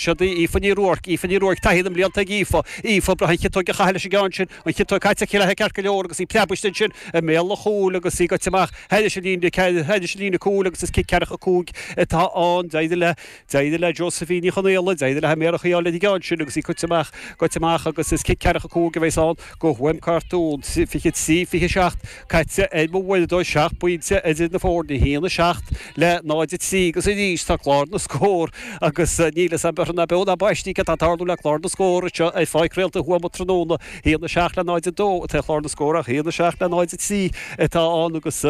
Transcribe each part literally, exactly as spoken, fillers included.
Siod í Aoife Ní Ruairc, Aoife Ní Ruairc, taithí na mblianta ag Aoife, Aoife, breá an chiotóg a chaitheamh leis an gceann sin, an chiotóg caite aici léi ceart go leor agus í preabaiste ansin i mbéal an chúil agus í goite amach thairis an líne, thairis an líne cúil agus is cic ceathracha cúig atá ann. D'éirigh le, d'éirigh le Josephine Ní Chonaola, d'éirigh léi méar a choinneáil ar an gceann sin agus í goite amach, goite amach agus is cic ceathracha cúig a bheas ann go Thuaim Cartún. fiche trí, fiche seacht caite ar mo uaireadóir, seacht bpointe idir na foirne, a haon a seacht le náid a trí agus arís tá clár na scór agus níl fhios a'm ná beo ná baistí cad tá ag tarlú le clár na scór anseo ar Pháirc Réalta Thuama tráthnóna, a haon a seacht le náid a dó atá ar chlár na scór ach a haon a seacht le náid a trí atá ann agus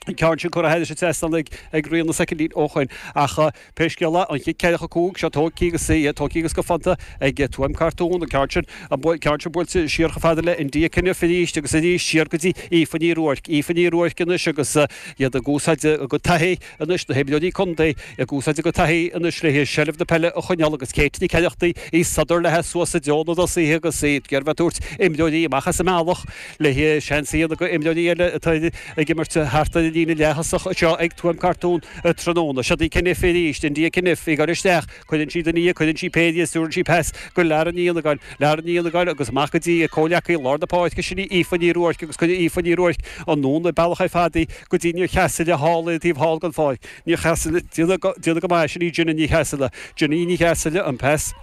an ceann sin curtha thairis an trasnán ag ag Ríona soicindín ó shoin. Ach pé scéal é, an chic ceathracha cúig seo tógtha agus í tógtha agus go fanta ag Tuaim Cartún, an ceann sin an ceann sin buailte siar chomh fada le India Kenniff arís agus arís siar go dtí Aoife Ní Ruairc. Aoife Ní Ruairc anois agus iad ag úsáid a gcuid taithí anois, na himreoirí contae ag úsáid a gcuid taithí anois le seilbh na peile a choinneáil agus Kate Nic Oireachtaigh í sodar léi suas i dtreo na dtosaithe agus í ag iarraidh bheith ag tabhairt imreoirí amach as an mbealach le seans a dhéanamh go imreoirí eile atá ag imirt thart ar an líne leath-thosach anseo ag Tuaim Cartún tráthnóna. Siod í Kenniff arís, India Kenniff ag dul isteach, cuireann sí duine dhi, cuireann sí péire dhi, stiúrann sí pas go Lara Ní Fhionnagáin, Lara Ní Fhionnagáin agus amach go dtí a comhleacaí i lár na páirce, sin í Aoife Ní Ruairc agus cuireann Aoife Ní Ruairc anonn an bealach ar fad í go dtí Ní Cheasaile thall ar an taobh thall den pháirc. Ní Cheasaile, déanamh go maith, sin í Jenna Ní Cheasaile. Jenna Ní Cheasaile, an pas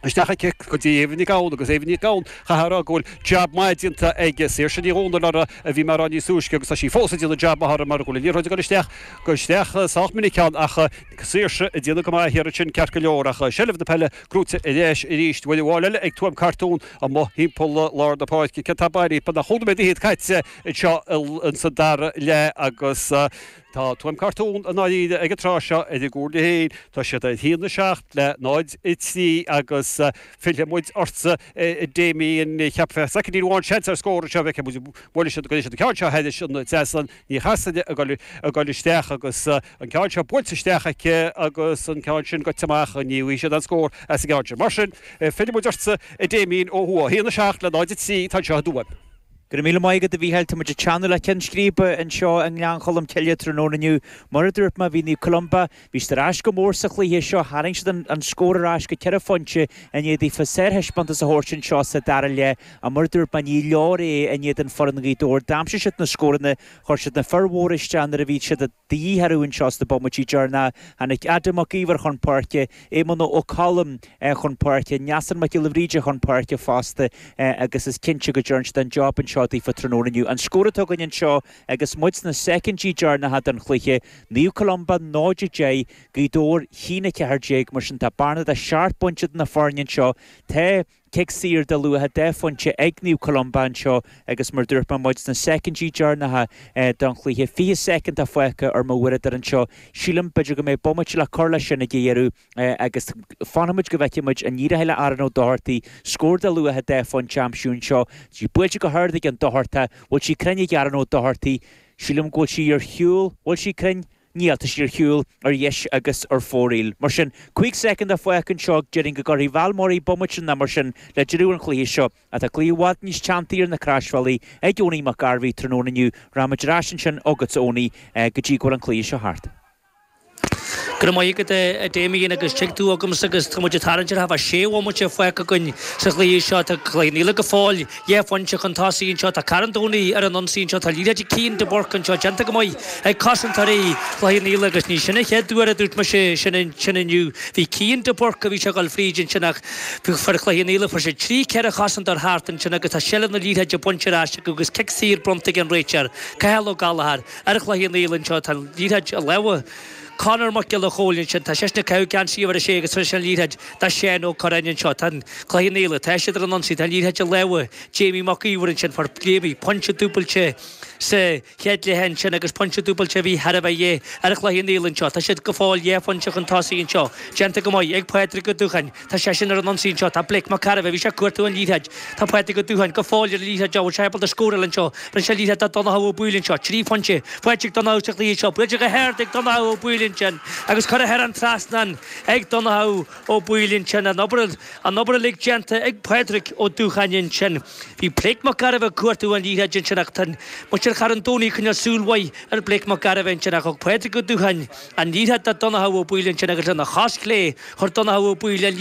isteach aici go dtí Eva Nic Gabhann agus Eva Nic Gabhann, chaithfeá a rá go bhfuil jab maith déanta ag Saoirse Ní Dhomhnaill uirthi a bhí mé a rá níos túisce agus tá sí fós ag déanamh jab maith uirthi mar go bhfuil an liathróid ag dul isteach, go isteach sách minic ann ach Saoirse ag déanamh go maith thiar ansin ceart go leor ach seilbh na peile gnóite ar ais arís uair amháin eile ag Tuaim Cartún amuigh thimpeall lár na páirce. Céard tá bailithe? Beagnach chúig nóiméad fhichead caite anseo insa dara leath agus tá Tuaim Cartún i ndáiríre ag an tráth seo ar a gcúinne féin. Tá siad ar haon a seacht le náid a trí agus fillfidh muid ortsa a Damien. Cheapfá soicindín amháin seans ar scór anseo bhfeicfidh muid buailfidh siad go dtí an ceann seo thairis an trasnán. Ní Chasaide ag dul isteach agus an ceann seo buailte isteach aici agus an ceann sin goite amach. Ní bhfaighidh siad aon scór as an gceann sin. Mar sin, fillfidh muid ortsa, a Damien, ó thuaidh. A haon a seacht le náid a trí atá anseo i dTuaim. Go raibh míle maith agat a Mhícheáil. Tá muid ag teannadh le Ceann Scríbe anseo i nGleann Cholm Cille tráthnóna inniu. Mar a dúirt mé, bhí Naomh Columba, bhí siad ar ais go mór sa chluiche seo, tharraing siad an scór ar ais go ceithre phointe i ndiaidh daofa sárthaispeántas a thabhairt anseo sa dara leath. Ach mar a dúirt mé, ní leor é in éadan foireann Ghaoth Dobhair. D'aimsigh siad na scóranna, chuir siad na fir mhóra isteach nuair a bhí siad de dhíth orthu anseo sna bomaití deireanacha. Tháinig Adam Mac Íomhair chun páirce, Éamonn Ó Colm chun páirce, Neasan Mac Giolla Bhríde chun páirce fosta agus is cinnte go dtearn siad an job anseo daofa tráthnóna inniu. An scór atá againn anseo agus muid sna soicindí deireanacha den chluiche, Naomh Columba náid a deich, Gaoth Dobhair a haon a ceathair déag, mar sin tá bearna de sheacht bpointe idir na foirne anseo. Tá cic saor de luach dhá phointe ag Naomh Columba anseo agus mar dúirt mé muid sna soicindí deireanacha den chluiche, fiche soicind atá fágtha ar mo uaireadóir anseo. Sílim b'fhéidir go mbeidh bomaite le cur leis sin ag a dheireadh agus fanfaidh muid go bhfeicfidh muid an n-éireoidh le Aaron Ó Dochartaigh scór de luach dhá phointe a aimsiú anseo. Tá sí buailte go hard ag an Dochartach. Bhfuil sí cruinn ag Aaron Ó Dochartaigh? Sílim go bhfuil sí ar shiúl. Bhfuil sí cruinn? Níl, tá sí ar shiúl, ar dheis agus ar fóraoil. Mar sin, cúig soicind atá fágtha anseo, déarfainn go gcuirfidh Val Murray bomaite nó mar sin le deireadh an chluiche seo. Ach tá cluiche i bhfad níos teanntaí ar na croisbhealaí ag Owenie Mac Gairbhí tráthnóna inniu. Rachaimid ar ais ansin chugatsa, Owenie, go dtí go bhfuil an cluiche seo thart. Go raibh maith agat a Damien agus tig tú agamsa agus tá muid ag tarraingt ar thaobh sé bhomaite fágtha againn sa chluiche seo. Tá Cloich Cheann Fhaola go fóill dhá phointe chun tosaigh anseo. Tá Carn Domhnaigh ar an ionsaí anseo. Tá liathróid ag Cian de Búrca anseo déanta go maith ag cosantóirí Chloich Cheann Fhaola agus ní sin an chéad uair a dúirt mise sin sin inniu. Bhí Cian de Búrca bhí sé ag dul fríd ansin ach fir Chloich Cheann Fhaola fuair siad trí ceithre chosantóir thart ansin agus tá seilbh na liathróide bainte ar ais acu agus cic saor bronnta ag an réiteoir Cathal Ó Gallchóir ar Chloich Cheann Fhaola anseo. Tá an liathróid i lámha Conor Mac Giolla Chóill ansin. Tá seisean ag caitheamh geansaí uimhir a sé agus tar éis an liathróid do Sheán Ó Curráin anseo. Tá an Cloich Cheann Fhaola, tá siad ar an ionsaí, tá an liathróid i lámha Jamie Mac Íomhair ansin. Fuair Jamie pointe dúbailte sa chéad leath ansin agus pointe dúbailte a bhí thar a bheith de dhíth ar Chloich Cheann Fhaola anseo. Tá siad go fóill dhá phointe chun tosaigh anseo. Déanta go maith ag Pádraig Ó Dúcháin. Tá seisean ar an ionsaí anseo. Tá Blake Mac Cairbhe, bhí sé ag cuartú an liathróid. Tá Pádraig Ó Dúcháin go fóill ar an liathróid. Bhfuil sé ábalta scóráil anseo? Bhronn sé liathróid do Donnchadh Ó Baoill anseo. Trí phointe faighte ag Donnchadh sa chluiche seo. Buailte go hard ag Donnchadh Ó Baoill ansin agus curtha thar an trasnán ag Donnchadh Ó Baoill ansin. An obair, an obair uilig déanta ag Pádraig Ó Dúcháin ansin. Bhí Blake Mac Gairbheith ag cuartú an liathróid ansin ach tá muid Muintir Charn Domhnaigh ag coinneáil súil mhaith ar Blake Mac Gairbheith ansin ach thug Pádraig Ó Dúcháin an liathróid do Donnchadh Ó Baoill ansin agus lena chos chlé chuir Donnchadh Ó Baoill an